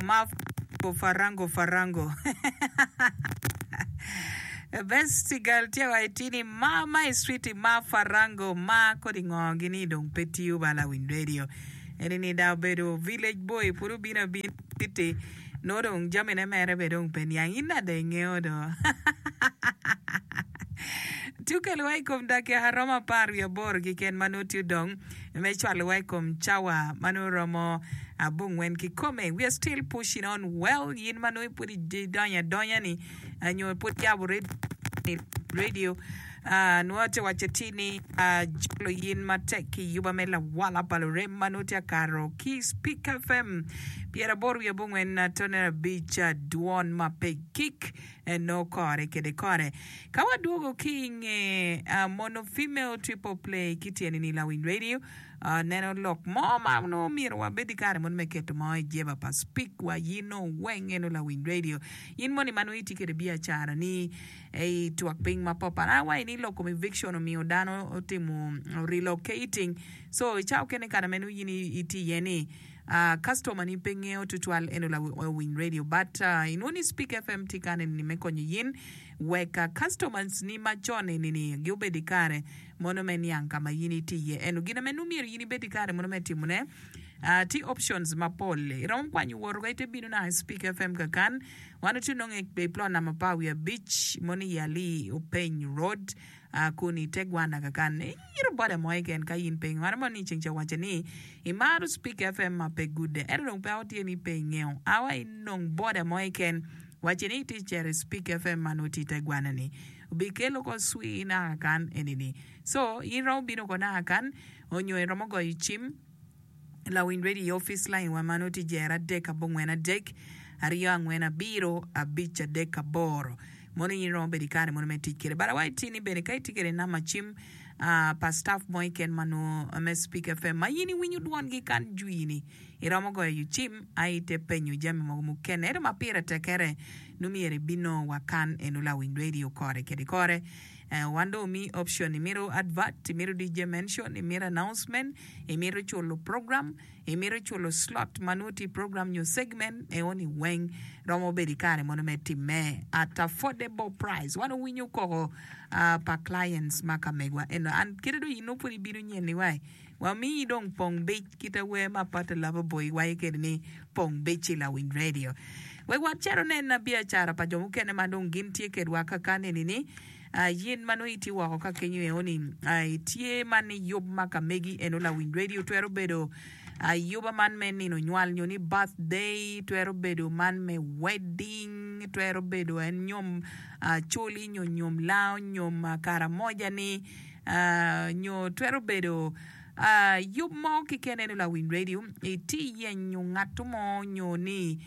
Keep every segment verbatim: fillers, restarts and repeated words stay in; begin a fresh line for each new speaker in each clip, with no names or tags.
Ma farango farango Best girl tye wa itini ma ma i street ma farango ma kodi ngo gini dong pe tiyo ba lawiny radio eni ni da obedo village boy pud obino abina city nongo dong jamine mere be dong pe niang in nade ingeyo do Tye okelowa i kom dakika romo apar wiye aboro keken ma nongo tye odong me cwalowa i kom cawa ma nongo romo abongwen kikome. We are still pushing on well. In ma nongo pud idonyo adonya ni nyo pud iyabo radio nongo atye waco atir ni ajolo in matek ki yuba me lawala pa lurem ma nongo tye akato ki Speak F M pyeraboro wiye abongwen tone abic, dwon ma pe gik nongo kore kede kore. Ka wadwogo ki i nge mono female triple play ki tyeni ni lawiny radio neno lok mo ma nongo myero wabed ki kare mono me keto mo i jeba pa Speak wa yin nongo weng eno lawiny radio in moni ma nongo itye kede biacara ni i twak piny ma papat a wa ini lok kom eviction omiyo dano otimo relocating, so i cawa okene kare ma nongo in itye iye ni customer ni pe ngeyo tutwal eno lawiny radio, but inwongo ni Speak F M tye kane ni me konyo yin wek customers ni macon eni ni giobed i kare mono me niang ka ma in itye iye. Eno gin ame nongo myero in ibed i kare mono me timone. Tye options mapol. Iromo kwanyo wot woko ite bino naka i Speak F M kakan. Wan watye nongo i plot namba apar wiye abic mono i Ali Openy Road kun i te gwana kakan. Iyito boda mo keken ka in pe ingeyo. Wan mono ni ceng ca owaco ni imaro Speak F M ma pe gude. Ento dong peko tye ni pe ingeyo. Awa inong boda mo keken wacce ni itye cito i Speak F M ma nongo tye i te gwana-ni. Obikelo ko cwir naka kan eni-ni. So, in iromo bino ko naka kan onyo iromo goyo cim lawiny radio i office line wa ma nongo tye jero adek abongwen adek aryo angwen abiro abic adek aboro. Mono in iromo bedo i kare mono me tic kwede. But awaco tye ni bene ka itye kwede namba cim pa staff mo keken ma nongo me Speak F M ma in iwinyo dwongi kan jwi-ni, iromo goyo yo cim aye ite penyo jami mogo mukene. Ento ma pire tekkere nongo myero ibinongo wa kan eno lawiny radio kore kede kore. Wan dong omiyi option, imito advert, imito D J mention, imito announcement, imito culo program, imito culo slot ma nongo tye i program nyo segment eoni weng romo bedo i kare mono me timme at affordable price. Wan owinyo koko pa clients ma ka megwa eno an kite dong in nongo pud ibino nyen ni wai wamiyi dong pong bic kite wer ma Pata Lover Boy waco kede ni pong bic ci lawiny radio wek wacito nen biacara pa jo mukene ma dong gin tye kedwa kakan eni ni yin ma nongo itye woko ka kenyo eoni itye man ni yub ma ka megi eno lawiny radio twero bedo ayuba man me nino nywal nyo ni birthday, twero bedo man me wedding, twero bedo en nyom coli nyo nyom lao nyom karamoja ni nyo twero bedo yub mo keken eno lawiny radio itye yenyo ngat mo nyo ni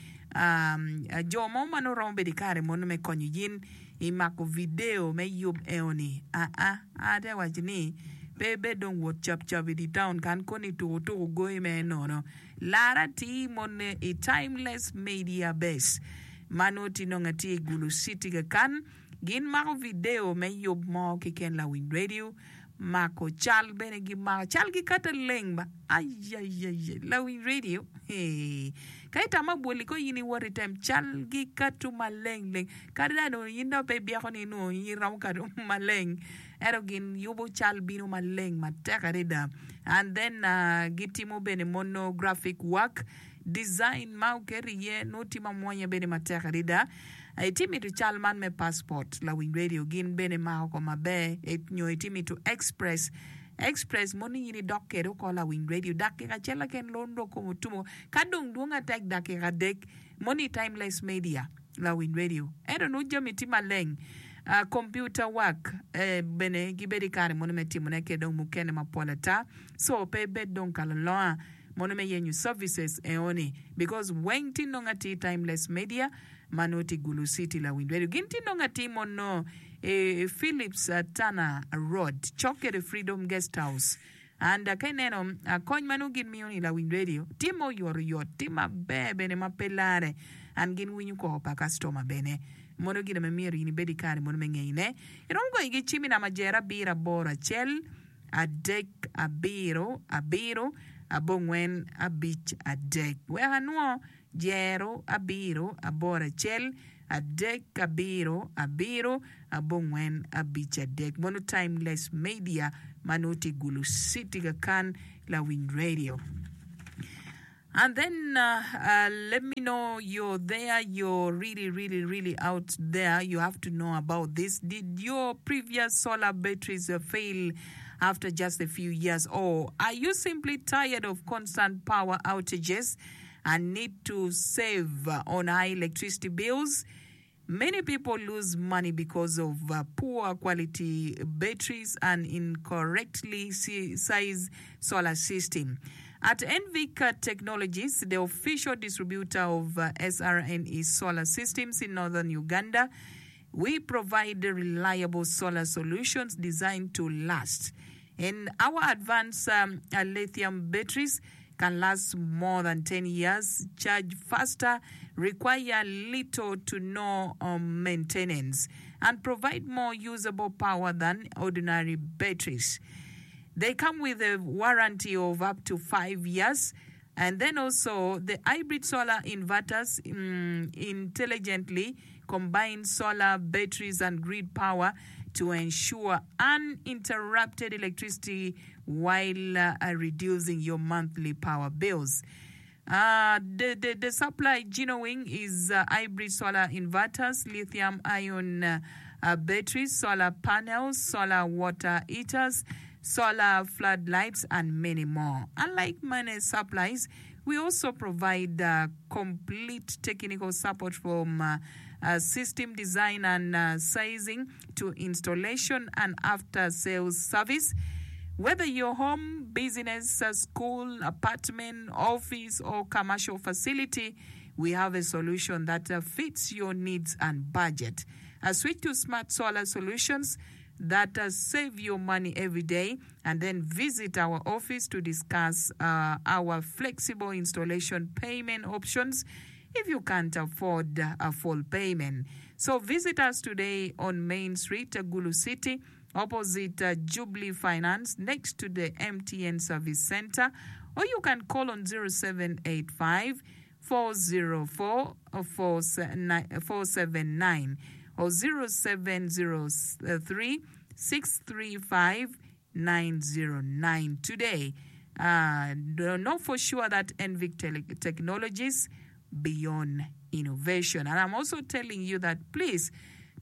jo mo ma nongo romo bedo i kare mono me konyo yin i mako video me yub eoni aa ate waco ni pe ibed dong wot cap cap i di town kan koni tuku tuku goyi me nono lar atir mone i Timeless Media Base ma nongo tye nongo atye i Gulu City kakan. Gin mako video me yub mo keken lawiny radio mako cal bene gimako cal gi kata leng ba ayayaya lawiny radio hee ka itamo abwoli ko in iwot item cal gi katu maleng leng kadi da nongo in dong pe ibyeko ni nongo in iromo katu maleng ento gin yubo cal bino maleng matek adada. And then gitimo bene mono graphic work design ma oketo iye nongo tye mamwonya bene matek adada. Itye mito cal man me passport lawiny radio gin bene mako ko maber nyo itye mito express express mono in idok kede oko lawiny radio dakika acel keken londo kom otumo ka dong dwong atek dakika adek mono i Timeless Media lawiny radio ento nongo jami tye maleng. Computer work bene gibedo i kare mono me timone ki dong mukene mapol ata, so pe ibed dong ka lalonga mono me yenyo services eoni because weng tye nongo atir. Timeless Media ma nongo tye i Gulu City lawiny radio gin tye nongo atir mono i Philips Tana Road cok kede Freedom Guest House. And ka ineno kony ma nongo gin miyo ni lawiny radio tye ma oyotoyot, tye maber bene ma pe lare, and gin winyo koko pa customer bene. Mono gin ma myero in ibed i kare mono me ngeyone. Iromo goyo gi cim i namba jer abiro aboro acel adek abiro abiro abongwen abic adek. Wek anwo jero abiro aboro acel adek abiro abiro abongwen abic adek. Mono Timeless Media ma nongo tye i Gulu City kakan Lawiny Radio. And then uh, uh, let me know you're there, you're really, really, really out there. You have to know about this. Did your previous solar batteries uh, fail after just a few years? Or are you simply tired of constant power outages and need to save uh, on high electricity bills? Many people lose money because of uh, poor quality batteries and incorrectly si- sized solar system. At Envic uh, Technologies, the official distributor of uh, S R N E solar systems in northern Uganda, we provide reliable solar solutions designed to last. And our advanced um, uh, lithium batteries can last more than ten years, charge faster, require little to no um, maintenance, and provide more usable power than ordinary batteries. They come with a warranty of up to five years. And then also the hybrid solar inverters mm, intelligently combine solar batteries and grid power to ensure uninterrupted electricity while uh, reducing your monthly power bills. Uh, the, the, the supply genuine is uh, hybrid solar inverters, lithium ion uh, uh, batteries, solar panels, solar water heaters, solar floodlights, and many more. Unlike many supplies, we also provide uh, complete technical support from uh, uh, system design and uh, sizing to installation and after sales service. Whether your home, business, uh, school, apartment, office, or commercial facility, we have a solution that uh, fits your needs and budget. Uh, switch to smart solar solutions that uh, save you money every day, and then visit our office to discuss uh, our flexible installation payment options if you can't afford a full payment. So visit us today on Main Street, Gulu City, opposite uh, Jubilee Finance, next to the M T N Service Center, or you can call on zero seven eight five, four zero four, four seven nine or zero seven zero three, six three five, nine zero nine today. Uh, know for sure that Envic Tele- Technologies beyond innovation. And I'm also telling you that please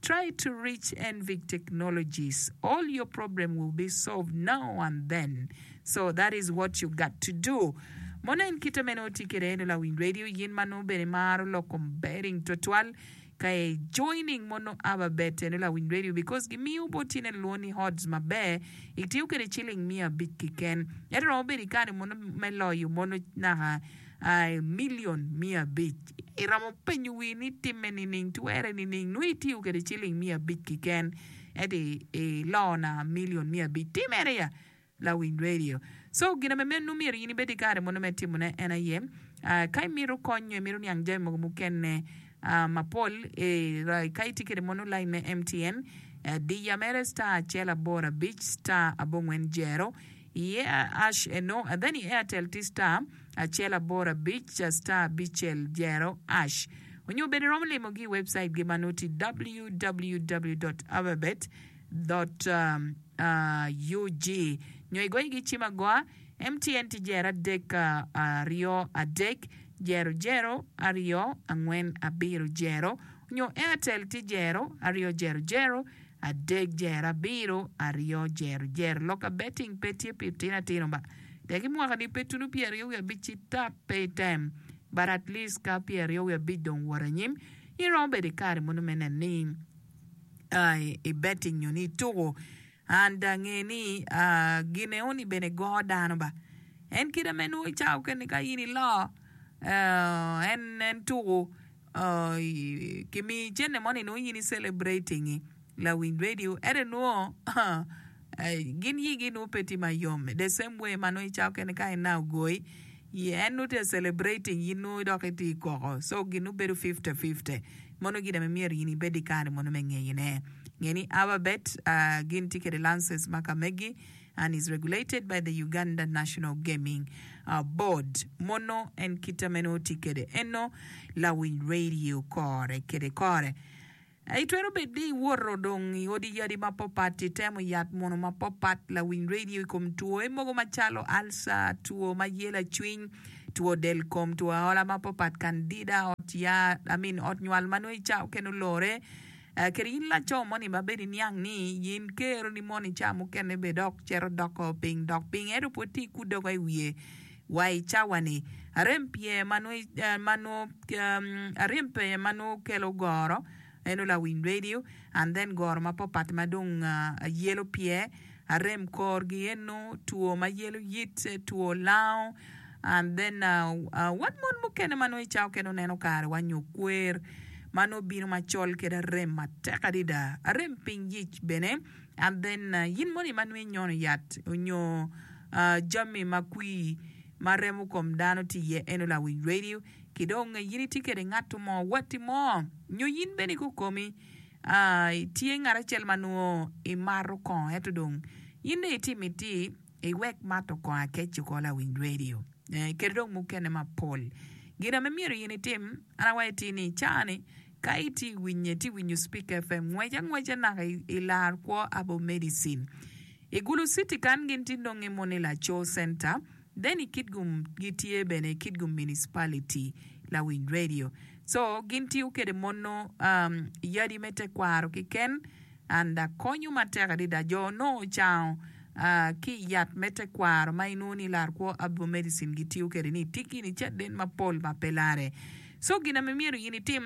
try to reach Envic Technologies. All your problem will be solved now and then. So that is what you got to do. Mona en kita meno tikere eno la Win Radio yin mano bene maro lo comparing total kae joining mono aba bet eno la Win Radio because gimiyo botine luoni odds maber itiyo kede chiling mia abich kiken. Ero romo bedo ikare mono me loyo mono naka uh, million mia abich. Iromo penyo wi ni time nining twere nining nui itiyo kede chiling mia abich kiken. Edi e lo na million mia abich. Timere ya la Win Radio. So gina me menu miero yini bedi kare mono me timone en aye. Uh, kai miro konyo miro niang jami mogo mukene uh, mapol e eh, kai tikere mono line me M T N uh, diya mere star achiel aboro abich star abong'wen jero iye ash eno and then i Airtel ti star achiel aboro abich star abichel jero ash. Onyo bede romo limo gi website gi manoti w w w dot ababet dot u g. Nyo igoyi gi chima goa M T N ti jero adek ariyo adek jero jero ariyo ang'wen abiro jero. Nyo Airtel ti jero ariyo jero jero adek jero abiro ariyo jero jero. Loka betting pe tye pi tino atino ba. Teki mwaka ni pe tunu piero ariyo wiye abic ci tap pe item. But at least ka piero ariyo wiye abic dong wot anyim, iromo bedo i kare mono me neno ni, uh, i betting nyo ni ituko. And uh, ng'e ni uh, gine oni bene go dano ba. En kite me nwo icawo kene ka in ilo, uh, en, en tuko, uh, kimi cene moni nwo in i celebrating la Win Radio. Ere nwo, uh, gin yigi nwo pe tye mayom. The same way ma nwo icawo kene ka en na ogoi, ye en nwo tye celebrating in nwo dok itye koko. So gin nwo bedo fifty fifty. Mono gine me myero in ibed i kare mono me ng'eyone. Ng'e ni Ababet, uh, gin tye kede lances ma ka megi, and is regulated by the Uganda National Gaming Board. Mono en kita meno tye kede eno lawiny radio kore kede kore. Itwero bedo ni iwoto dong i odi yadi mapapat, itemo yat muno mapapat, lawiny radio i kom two mogo macalo ulcer, two ma yelo acwiny, two del kom, two aola mapapat, candida, ot ya, I mean, ot nywal ma nongo ica okene olore. Uh, kede in laco moni ma bed iniang ni yin kero ni moni ca mukene be dok cito doko piny dok piny ento pud tye ikudogo i wiye wa i cawa ni arem pyer ma nongo uh, ma nongo um, arem pyer ma nongo kelo goro eno lawiny radio and then goro mapapat ma dong uh, yelo pyer arem korgi eno two ma yelo yit two lango and then uh, uh, wan mon mukene ma nongo ica okene oneno kare wa nyo kwer ma nongo bino macol kede arem matek adada arem piny yic bene and then uh, yin moni ma nongo inyono yat onyo uh, jami ma kwir ma remo kom dano tye iye eno lawiny radio ki dong yin itye kede ngat mo watti mo nyo yin bene kukomi uh, tye ngat acel ma nongo imato kongo ento dong yin dong itimo iti iwek mato kongo akec oko lawiny radio eh, kede dong mukene mapol gin ame myero yin itim an awaco ti ni cani ka iti winye ti winyo Speak F M ngwec angweca naka i lar kwo Herbal Medicine i Gulu City kan gin ti nonge moni Laco Center then i Kitgum gitye bene i Kitgum Municipality lawiny radio so gin tiyo kede mono um, yadi me tekwaro keken and uh, konyo matek adada jo nongo ocango uh, ki yat me tekwaro ma inwongo ni lar kwo Herbal Medicine gitiyo kede ni tiki ni caden mapol ma pe lare so gin ame myero in itim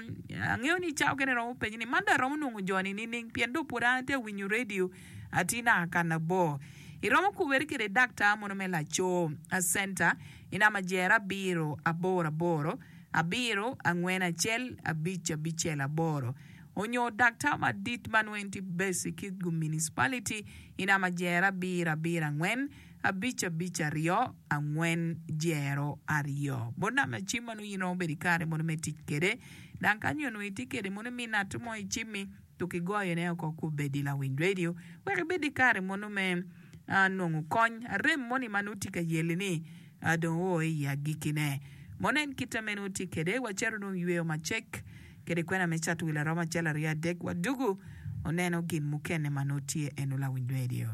angeo ni ca okene romo penyo ni man dong aromo nongo joni nining pien dong pud an atye winyo radio atye naka kana bor iromo kubere kede daktar mono me Laco Center i namba jero abiro aboro aboro abiro angwen acel abic abicel aboro onyo daktar madit ma nongo en tye base i Kitgum Municipality i namba jero abiro abiro angwen abic abic aryo angwen jero aryo bot namba cim ma nongo in romo bedo i kare mono me tic kede dang kanyo onongo itye kede mono mi ngat mo i cimmi to kigoyone oko kubedi lawiny radio wek ibed i kare mono me uh, nongo kony arem moni ma nongo tye ka yeli ni uh, dong oo i agikkine mono en kite meno tye kede wacito dong yweyo macek kede kwena me cato wil aromo acel aryo adek wadugu oneno gin mukene ma nongo tye eno lawiny radio.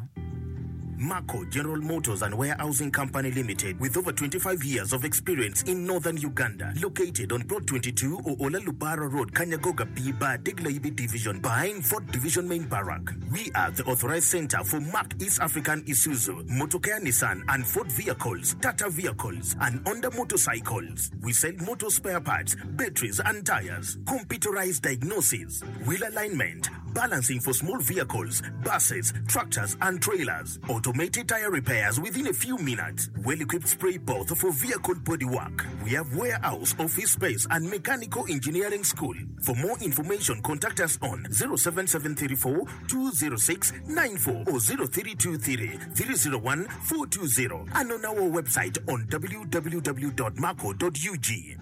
Marco General Motors and Warehousing Company Limited, with over twenty-five years of experience in northern Uganda, located on Plot twenty-two Oola Lubara Road, Kanyagoga B Bar, Diglaibi Division, behind Fort Division Main Barrack. We are the authorized center for Mark East African Isuzu, Motocare Nissan and Ford vehicles, Tata vehicles, and Honda motorcycles. We sell motor spare parts, batteries and tires, computerized diagnosis, wheel alignment, balancing for small vehicles, buses, tractors and trailers, automated tire repairs within a few minutes, well-equipped spray booth for vehicle bodywork. We have warehouse, office space and mechanical engineering school. For more information, contact us on zero seven seven three four two zero six nine four or zero three two three three zero one four two zero and on our website on w w w dot marco dot u g.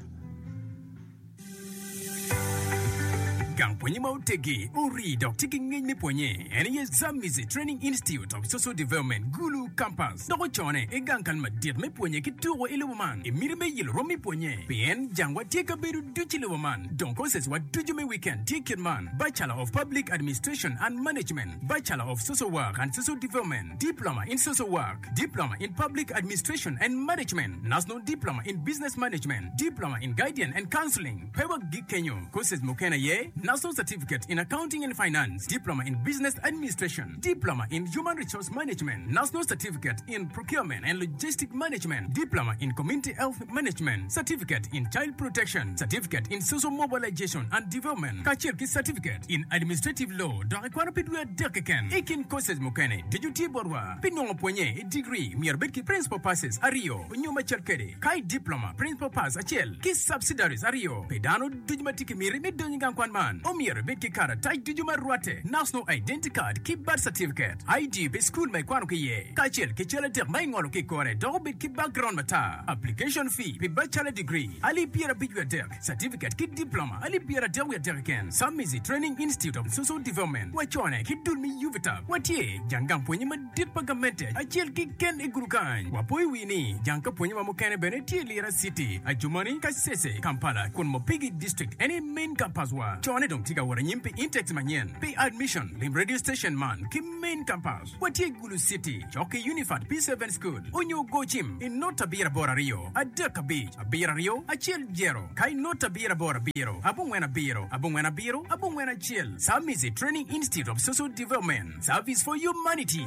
Gang pwonye ma otegi ori dok tye ki ngec me pwonye en aye Zamizi Training Institute of Social Development Gulu Campus dok ocone i gang kal madit me pwonye ki tuko i lobo man i miti me yelo rom me pwonye pien jangwa tye ka bedo ducu i lobo man dong courses wa ducu me weekend tye kit man: Bachelor of Public Administration and Management, Bachelor of Social Work and Social Development, Diploma in Social Work, Diploma in Public Administration and Management, National Diploma in Business Management, Diploma in Guidance and Counseling. Pe wagik kenyo courses mukene aye National Certificate in Accounting and Finance, Diploma in Business Administration, Diploma in Human Resource Management, National Certificate in Procurement and Logistic Management, Diploma in Community Health Management, Certificate in Child Protection, Certificate in Social Mobilization and Development, kacel ki Certificate in Administrative Law dok ikwano pi dwe adek keken. I kin courses mukene ducu tye botwa. Pi nongo pwonye i degree myero bed ki principal passes aryo onyo macel kede ka i diploma principal pass acel ki subsidiaries aryo pi dano ducu ma tye ki miti me donyo i gang kwan man. man, omyero ibed ki karatac ducu ma rwatte, National Identity Card ki Birth Certificate, ID pi cukul ma ikwano ki iye, kacel ki cal adek ma ingolo ki i kore dok obed ki background matar. Application fee pi Bachelor Degree alip pyerabic wiye adek, Certificate ki Diploma alip pyeradek wiye adek keken. Samizi Training Institute of Social Development wacone ki dul me UVTAB watye jang gang pwonye madit pa gamente acel keken i Gulu kany. Wapoyo wi ni jang ka pwonye wa mukene bene tye i Lira City, Adjumani, Kasese, Kampala kun Mopigi District en aye main campus wa. Cone dong tye ka wot anyim pi intakes manyen. Pi admission, lim radio station man ki main campus. Watye i Gulu City, cok ki Unifat P seven School, onyo go cim i not abiro aboro aryo, adek abic, abiro aryo, acel jero, ka i not abiro aboro abiro, abongwen abiro, abongwen abiro, abongwen acel. Samizi Training Institute of Social Development, Service for Humanity.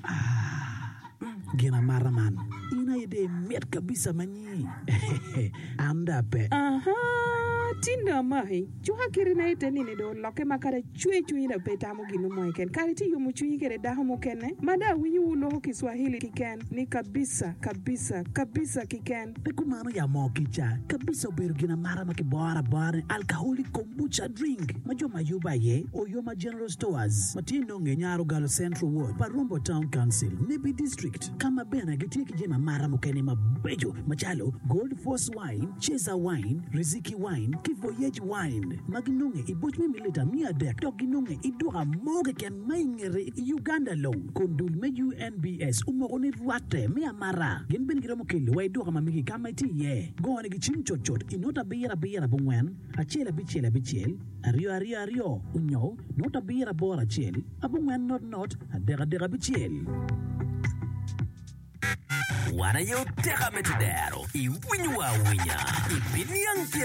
Ah, gin amata man. In aye dong imit kabisa ma nyi. An dong ape.
Aha, tin dong amaki. Cuka kiti na ite nini dong olokke ma kadi acwe cwinyi dong pe itamo gin mo keken. Kadi itye yomo cwinyi kede dako mukene ma dong awinyo wu loko Kiswahili kiken ni kabisa, kabisa, kabisa kiken.
Pe kumano ya moo kica kabisa obedo gin amata ma kiboro abora ni alcoholic kombucha drink ma jo ma yubo aye Oyoma General Stores ma tye nonge i Nyarogalo Central Ward pa Rombo Town Council, Nebbi District ka ma bene gitye ki jami amata mukene mabeco macalo Gold Force Wine, Chaser Wine, Riziki Wine ki Voyage Wine ma ginonge i boc me mililita miya adek dok ginonge i duka mo keken ma i ngete i Uganda long kun dul me UNBS omoko ni rwatte me amata. Gin bene giromo kelo wa i duka ma megi ka ma itye iye. Go nigi cim cutcut i not abiro abiro abongwen, acel abicel abicel, aryo aryo aryo onyo not abiro aboro acel, abongwen not not, adek adek abicel.
Wan aye oteka me tedero, iwinyowa awinya, ibiniang pi